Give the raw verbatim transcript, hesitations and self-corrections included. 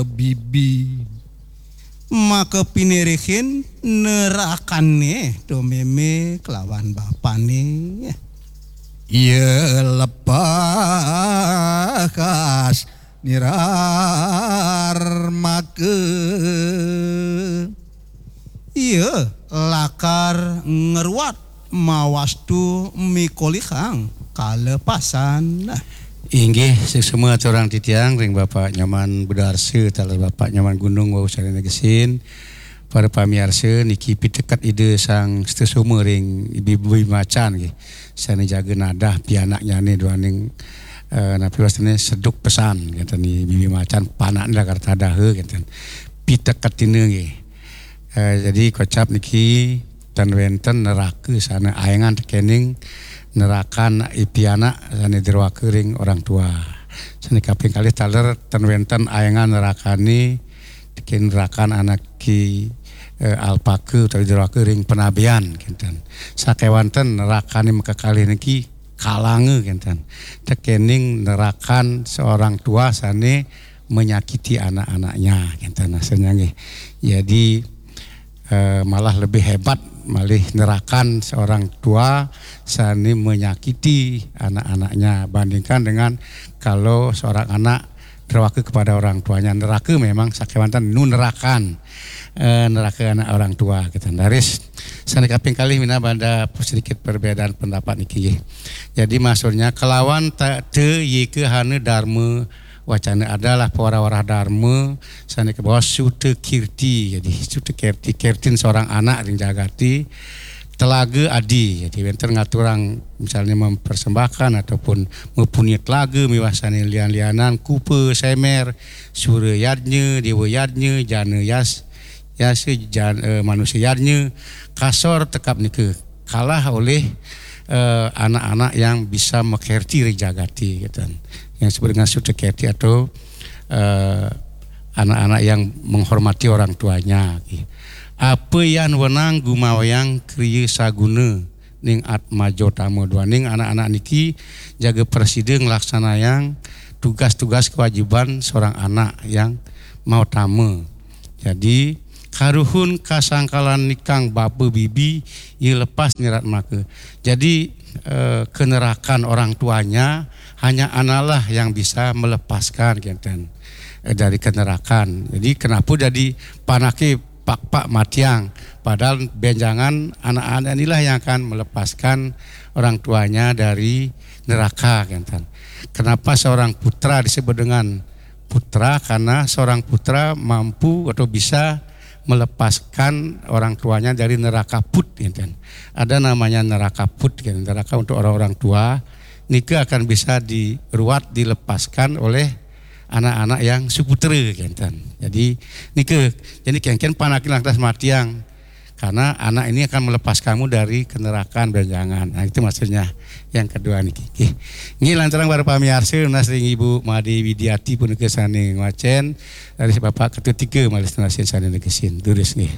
bibi. Maka pinirihin nerakané to mémé kelawan bapané. Ia lepas nirar maka. Ia lakar ngruat mawastu mikolihang kalepasan. Inggih, suksma aturang titiang ring Bapak Nyoman Budarsa, taler Bapak Nyoman Gunung wau sané negesin. Para pamiarsa, niki piteket Ida Sang Sutasoma ring Bibi Macan nggih. Sané jaga nadah pianaknyané duaning, eh, napi wastané seduk pesan, kénten, Bibi Macan panakné lakar tadaha, kénten. Piteketina nggih. Eh, jadi kocap niki tan wénten neraka sané aéngan tekéning nerakan pianak sané druaka ring orang tua. Sané kaping kalih taler tan wénten aéngan nerakané tekéning nerakan anaké, eh, alpaka utawi druaka ring panabian, kénten. Sakéwanten nerakané makakalih niki kalanga, kénten. Tekéning nerakan seorang tua sané menyakiti anak-anaknya, kénten, maksudnya nggih. Jadi, eh, malah lebih hebat malih nerakan seorang tua sané menyakiti anak-anaknya bandingkan dengan kalau seorang anak derwaka kepada orang tuanya. Neraka memang sakéwanten nu nerakan, eh, neraka anak orang tua, kénten. Raris sané kaping kalih minab ada sedikit perbedaan pendapat niki nggih. Jadi maksudnya kelawan ta-, te yika hana darma wacana adalah pawarah-warah darma sané kabaos suta kirti. Jadi suta kirti, kirtin seorang anak ring jagaté, telaga adi. Jadi wénten ngaturang misalnya mempersembahkan ataupun mapunia telaga miwah sané lian-lianan, kupa, semer, sura yadnya, dewa yadnya, jana yas, yasa jan-, eh, manusia yadnya, kasor tekap nika kalah oleh, eh, anak-anak yang bisa makerti ring jagaté, kénten. Yang disebut dengan suta kerti atau, eh, anak-anak yang menghormati orang tuanya. Apa yan wenang gumawayang kriya saguna ning atmaja utama duaning anak-anak niki jaga prasida nglaksanayang tugas-tugas kewajiban seorang anak yang mautama. Jadi, karuhun kasangkalan nikang bapa bibi, ia lepas nirat maka. Jadi, eh, kenerakan orang tuanya hanya analah yang bisa melepaskan, kénten, eh, dari kenerakan. Jadi, kenapa jadi panaké pakpak matiang? Padahal benjangan anak-anak inilah yang akan melepaskan orang tuanya dari neraka, kénten. Kenapa seorang putra disebut dengan putra? Karena seorang putra mampu atau bisa melepaskan orang tuanya dari neraka put, kénten. Ada namanya neraka put, kénten, neraka untuk orang-orang tua. Nika akan bisa diruat, dilepaskan oleh anak-anak yang suputra, kénten. Jadi nika, jadi kénkén panaké lantas matiang. Karena anak ini akan melepas kamu dari kenerakan benjangan. Nah, itu maksudnya yang kedua niki. Nggih. Nggih, lanturang para pamiarsa, nunas ring Ibu Madé Widiati punika sané ngwacén, dari Bapak Ketut Tiga malih nunasin sané negesin. Durus nggih.